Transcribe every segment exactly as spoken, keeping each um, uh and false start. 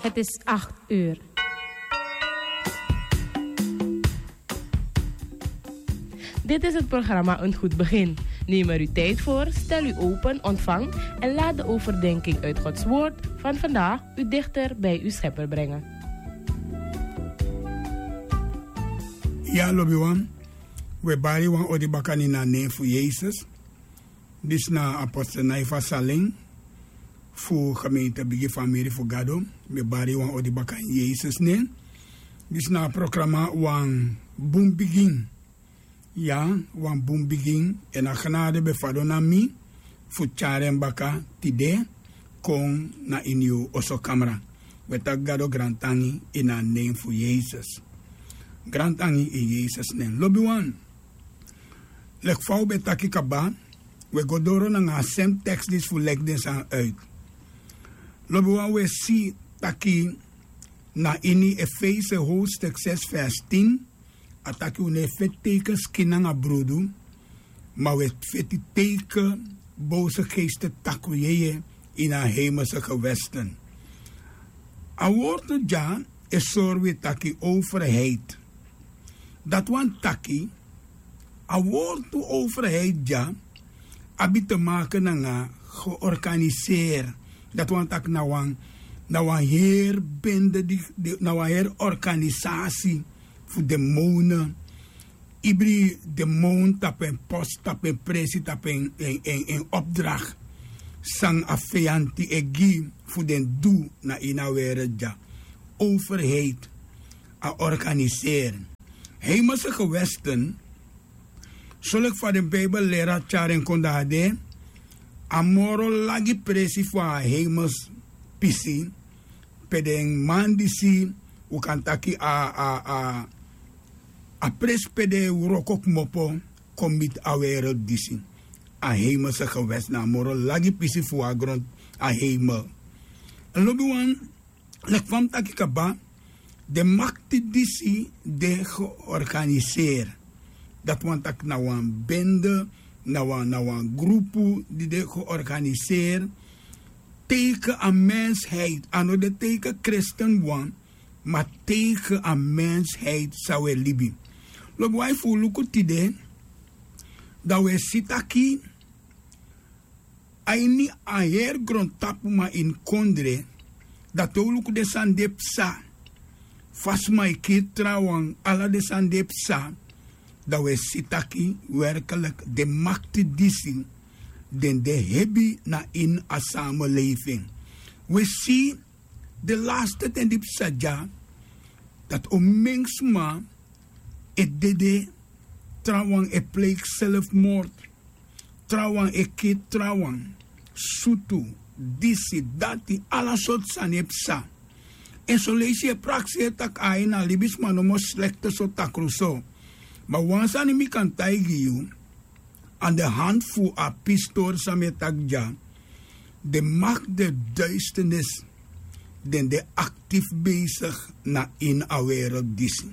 Het is acht uur. Dit is het programma Een Goed Begin. Neem er uw tijd voor, stel u open, ontvang en laat de overdenking uit Gods Woord van vandaag u dichter bij uw Schepper brengen. Ya, lobiwan, we bari wan odi baka ini a nen fu Yesus. Disi na apostel Naifa Saling fu gemeente Bigi Famiri fu Gado. Mi e bari wan odi baka ini Yesus nen. Disi na a programa Wan Bun Bigin. Ya, Wan Bun Bigin. Èn a genade ben fadon na mi fu tyari en baka tide kon na ini yu oso kamra. We taki Gado grantangi ini a nen fu Yesus. Grantangi ini Yesus nen. Lobiwan, leki fa un ben taki kaba, we go doro nanga a sem tekst disi fu leki den sani uit. Lobiwan, we si taki na ini Efese hoofdstuk zes vers tien, a taki un no e feti teiken skin nanga brudu, ma un e feti teiken boze geesten, takru yeye ini a hemelse gewesten. A wortu dya e sori wi taki overheid. Dati wani taki a wortu overheid dya abi te maken nanga georganiseer. Dati wani taki na wan, na wan heri bende, di, di, na wan heri organisasi fu demonen. Ibri demon tapu en post, tapu en presi, tapu en, en, en, en opdracht san a feyanti e gi fu den du na ini a wereld dya. Overheid, a organiseren. Hemelse gewesten, soleki fa den Bijbel leri a tyari en kon dati de, a moro lagi presi fu a hemels pisi, pe den man disi, un kan taki a, a, a, a presi pe den e wroko kmopo kon miti a wereld disi. A hemelse gewest na a moro lagi pisi fu a gron, a hemel. Lobiwan, leki fa mi taki kaba, den makti disi de georganiseer. Dati wani taki na wan bende, na wan, na wan grupu di de georganiseer tegen a mensheid. A no de tegen kristen wan, ma tegen a mensheid san un e libi. Lobiwan, efu un luku tide, dan un e si taki a ini a heri grontapu, ma ini kondre, dan te un luku den sani di e psa, fa sma e kiri trawan, ala den sani di e psa, dan un e si taki werkelijk den makti disi den de hebi na ini a samenleving. Un e si den laste ten di psa dya, dati onmen sma e dede, trawan e pleeg zelfmoord, trawan e kiri trawan, sutu, disi, dati, ala sortu sani e psa. Èn son leisi yu e prakseri taki ai, na libisma nomo slekte so, takru so. Ma wan sani mi kan taigi yu, aan de hand fu a pistori san mi e taki dya, den makti der duisternis, den de actief bezig na ini a wereld disi.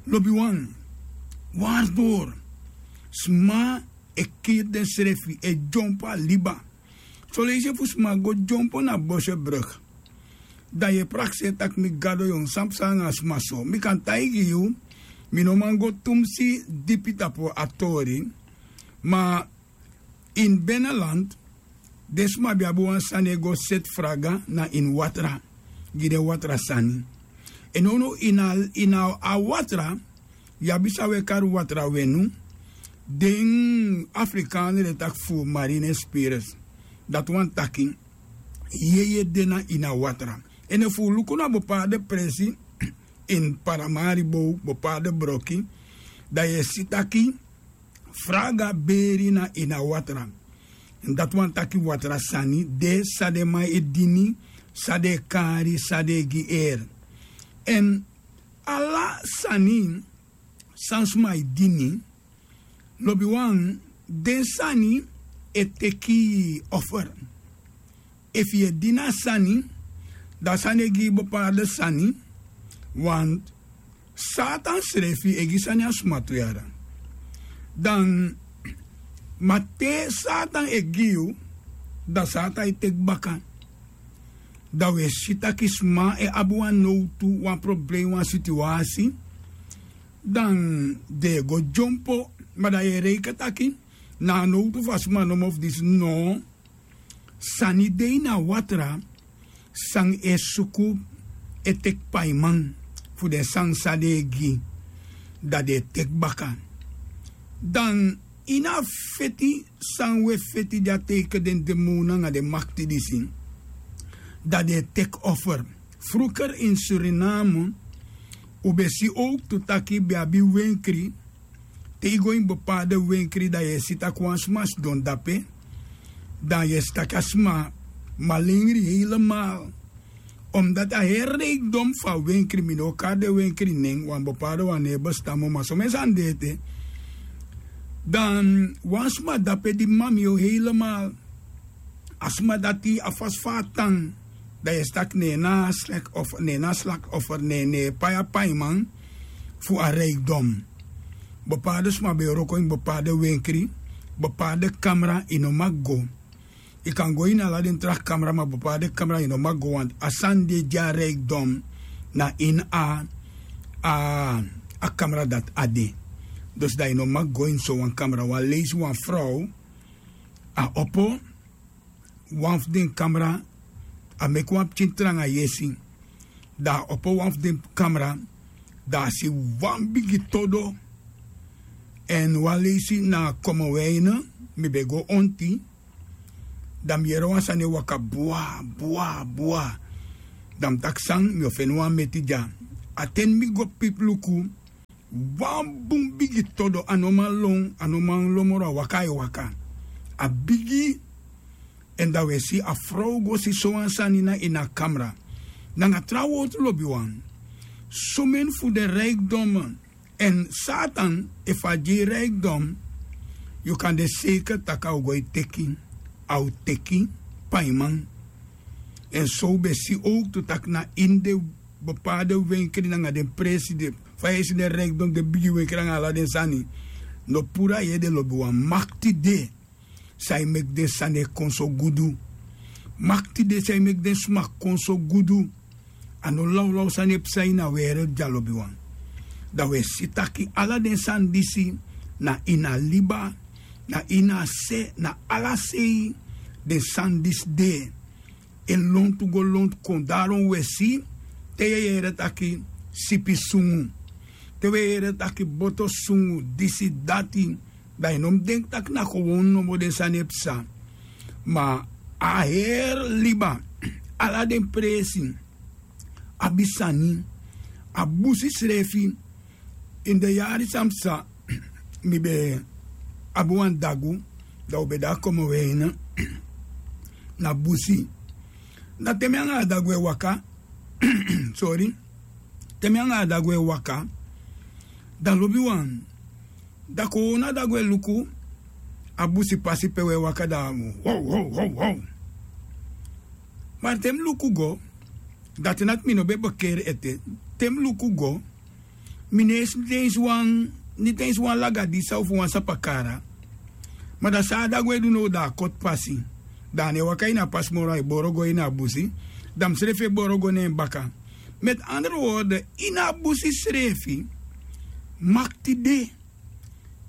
Lobiwan, waardoor sma e kiri densrefi, e dyompo a liba. Son leisi efu sma go dyompo na Bosjebrug, dan yu e prakseri taki mi Gado, yu o san psa nanga sma so. Mi kan taigi yu, mi no man go tumsi dipi tapu a tori, ma ini Beneland, den sma ben abi wan sani e go seti fraga na ini watra, gi den watra sani. Èn nownow ini a, ini a watra, yu abi san un e kari watra wenu, den Afrikaan den e taki fu marine spirits. Dati wani taki yeye de na ini a watra. Èn efu un luku na bepaalde presi, ini Paramaribo, bepaalde broki, dan yu e si taki fraga beri na ini a watra. Èn dati wani taki watra sani de, san den man e dini, san den e kari, san den e gi eri. Èn ala sani san sma e dini, lobiwan, den sani e teki offer. Efu yu e dini a sani, dan a sani e gi yu bepaalde sani, want Satan srefi e gi sani a sma tu yara. Dan, ma te Satan e gi yu, dan Satan e teki baka. Dan wi e si taki sma e abi wan nowtu, wan problem, wan sitiwasi, dan den e go dyompo. Ma dan yu e reiki taki na a nowtu fu a sma nomo fu disi no. Sani de ini a watra san e suku e teki paiman fu den sani san den e gi, dan den e teki baka. Dan ini a feti san wi e feti di a teike den demon nanga den makti disi, dan den e teki offer. Fruker ini Suriname un ben si owktu taki ben abi wenkri. Te yu go ini bepaalde wenkri dan yu e si taki wan sma sidon dape, dan yu e si taki a sma malengri heilemal. Omdati a heri reikdom fu a wenkri, mi no o kari den wenkri nen, wan bepaalde wan no e bestan moo, ma somen sani de ete. Dan wan sma dape di mami yu heilemal. A sma dati a fasi fa a tan, dan yu e si taki ne en na a slak of ne en na a slak of ne en ne en pai a paiman fu a reikdom. Bepaalde sma ben e wroko ini bepaalde wenkri, bepaalde kamra yu no maki go. Yu kan go ini ala den tra kamra, ma bepaalde kamra yu no maki go, want a sani di e gi a reikdom na ini a a kamra dati a de. Dus dan yu no maki go ini sowan kamra. Wan leisi wan frow a opo wan fu den kamra, a meki wan pikin tranga yesi. Dan a opo wan fu den kamra, dan a si wan bigi todo. Èn wan leisi na komoweine, mi ben go onti. Dan mi yere wan sani e waka bua bua bua. Dan mi taki san, mi o feni wan meti dya. A ten mi go pipi luku, wan bun bigi todo, a no man lon, a no man lon moro, a waka a e waka. A bigi. Èn dan wi e si a frow go si sowan sani na ini a kamra. Nanga tra wortu lobiwan, somen fu den reikdom. Èn Satan efu a gi yu reikdom, yu kan de seiker tak' a o go e teki, a o teki paiman. Èn so un ben si owktu tak' na ini den bepaalde wenkri nanga den presi de, fa yu e si den reikdom, den bigi wenkri nanga ala den sani. No puru a yu ede, lobiwan, makti de san e meki den sani e kon so gudu. Makti de san e meki den sma kon so gudu. A no lawlaw sani e psa ini a wereldi dya, lobiwan. Dan wi e si taki ala den sani disi, na ini a liba, na ini a se, na ala sei den sani disi de. E lontu go lontu kon. Daron wi e si, te yu e yere taki sipi sungu, te wi e yere taki boto sungu, disi dati, dan yu no mus denki tak' na kowownu nomo den sani e psa. Ma a heri liba, ala den presi abi sani. A busi srefi, ini den yari san psa, mi ben abi wan dagu, dan un ben de a komoweine na busi. Dan te mi anga a dagu e waka, sori, te mi anga a dagu e waka, dan lobiwan, dan kowownu a dagu e luku a busi pasi pe un e waka, dan wow wow wow wow. Ma te mi luku go, dati na taki mi no ben bekeri ete. Te mi luku go, mi no e si niti ensi wan, niti ensi wan lagadisa ofu wan sapakara. Ma dan san a dagu e du now, dan a koti pasi. Dan a no e waka ini a pasi moro, a e boro go ini a busi. Dan mi srefi e boro go na en baka. Met andere woorden, ini a busi srefi makti de.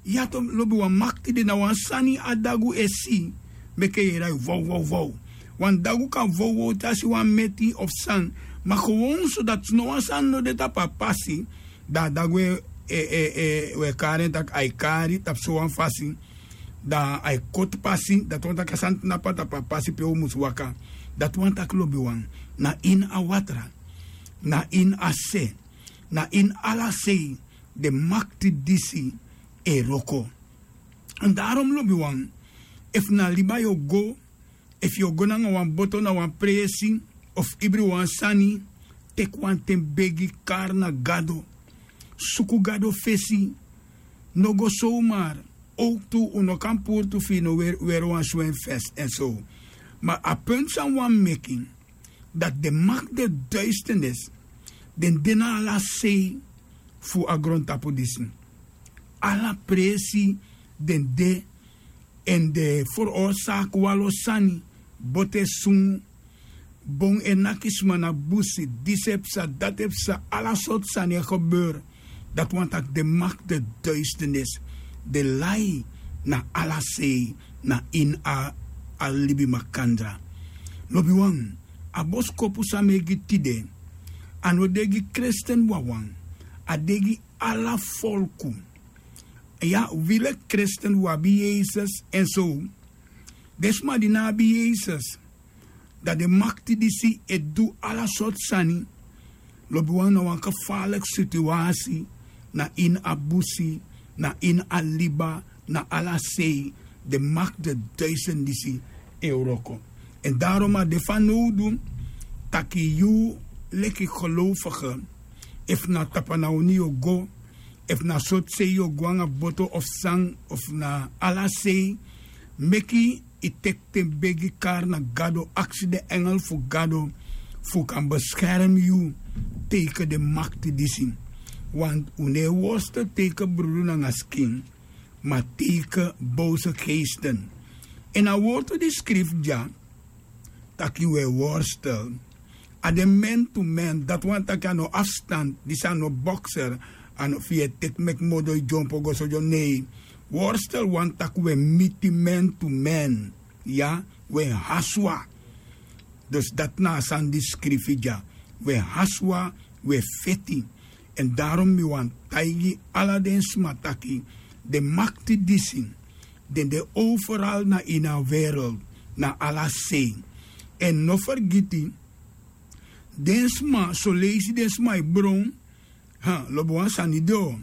Ya to, lobiwan, makti de. Na wan sani a dagu e si meke yu e yere a e vow vow vow. Wan dagu kan vow vow te a si wan meti of san. Ma kowownu so dati no wan sani no de tapu a pasi, dan a dagu e, e, e, e, wi e kari en tak' a e kari tapu sowan fasi. Dan a e koti pasi, dati wani tak' a sani tnapu a tapu a pasi pe un mus waka. Dati wani tak', lobiwan, na ini a watra, na ini a se, na ini ala sei den makti disi e wroko. Èn daron, lobiwan, efu na liba yu o go, efu yu o go nanga wan boto na wan presi, ofu ibri wan sani, teki wan ten begi, kari na Gado, suku Gado fesi. No go sowmar. Owktu un no kan puru firi no weri, weri wan swemfes èn so. Ma a puntu san un wani meki, dati den makti de duisternis, den de na ala sei fu a grontapu disi. Ala presi den de, èn den ferorsaak wanlo sani, boto e sungu, bon e naki sma na busi, disi e psa, dati e psa, ala sortu sani e gebeur. Dati wani taki den makti de duisternis, den lai na ala sei, na ini a libi makandra. Lobiwan, a boskopu san mi e gi tide, a no de gi kresten wawan, a de gi ala folku. Ya, wi leki kresten wi abi yesus èn so, den sma di no abi yesus, dan den makti disi e du ala sortu sani. Lobiwan, na wan gefarliki situasi, na ini a busi, na ini a liba, na ala sei, den makti de duisternis disi e wroko. Èn darom a de fanowdu taki yu leki gelowfige, efu na tapu na oni yu o go, efu na sortu sei yu o go nanga boto of san, of na ala sei, meki yu teki ten begi kari na gado, aksi den engel fu gado fu kan beskermi yu teige den makti disi. Want un no e worstel teige brudu nanga skin, ma teige bowse geesten. Èn a wortu di skrifi dya, taki un e worstel, a de men tu men, dati wani taki a no afstand, disi a no bokser, a no fu yu e teki meki modo yu dyompo go so dyon nei. Worstel wani taki un e miti men tu men, ya, un e haswa. Dus dati na a sani di skrifi dya, un e haswa, un e feti. Èn darom mi wani taigi ala den sma taki, den makti disi, den de overal na ini a wereld, na ala sei. Èn no fergiti, den sma soleisi den sma e bron, lobi wan sani de o.